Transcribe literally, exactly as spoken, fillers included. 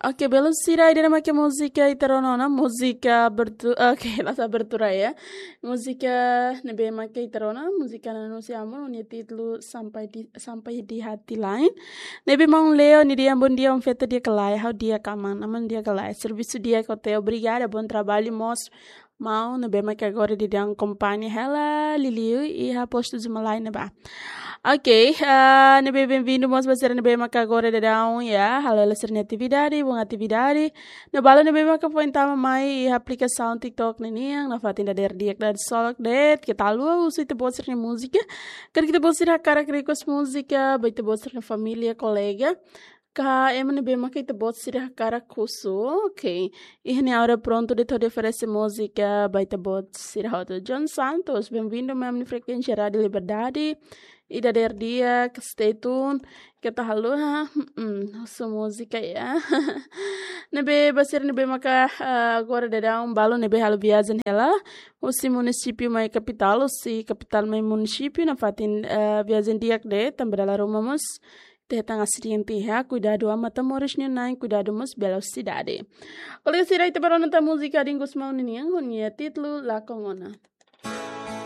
Oke, belun sira, ida-ne'e mak múzika ita rona ona, múzika abertu-, oke, la'ós abertura ya. Múzika ne'ebé mak ita rona, múzika Nanusi Amor, ho nia títulu Sampai di, Sampai di Hati Lain. Ne'ebé maun Leo, nia dehan bom dia, oan feto di'ak ka lae, ha'u di'ak aman, aman di'ak ka lae. Servisu di'ak ka lae, obrigada, bom trabalho, mós maun ne'ebé mak agora daudaun akompaña hela liuliu iha postu Zumalai ne'ebá. Oke, ah, ne'ebé bem-vindo mós ba sira ne'ebé mak agora daudaun ya, halo hela sira-nia atividade, bom atividade. No balu ne'ebé mak foin tama mai iha aplikasaun TikTok ne'e nian, nafatin dadeer di'ak, dadeer solok de'it, keta haluha husu ita-boot sira-nia múzika. Karik ita-boot sira hakarak request múzika ba ita-boot sira-nia família, kolega, ka ema ne'ebé mak ita-boot sira hakarak husu. Oke. Iha ne'e agora prontu de'it hodi oferese múzika ba ita-boot sira hotu. John Santos, bem-vindo mai ami-nia frekuénsia Rádio Liberdade. Ida dadeer di'ak, stay tune. Keta haluha, mm, husu múzika ya. Ne'ebé ba sira ne'ebé maka, ah, agora daudaun balu ne'ebé halo viajen hela husi munisípiu mai kapitál, husi kapitál mai munisípiu, nafatin, ah, viajen di'ak de'it, tanba dala ruma mós ita hetan asidente iha, kuidadu an matan-moris nia na'in, kuidadu mós velosidade. Kolega sira, ita bá rona tan múzika Dingus Maun nian, ho nia títulu Lakon Ona.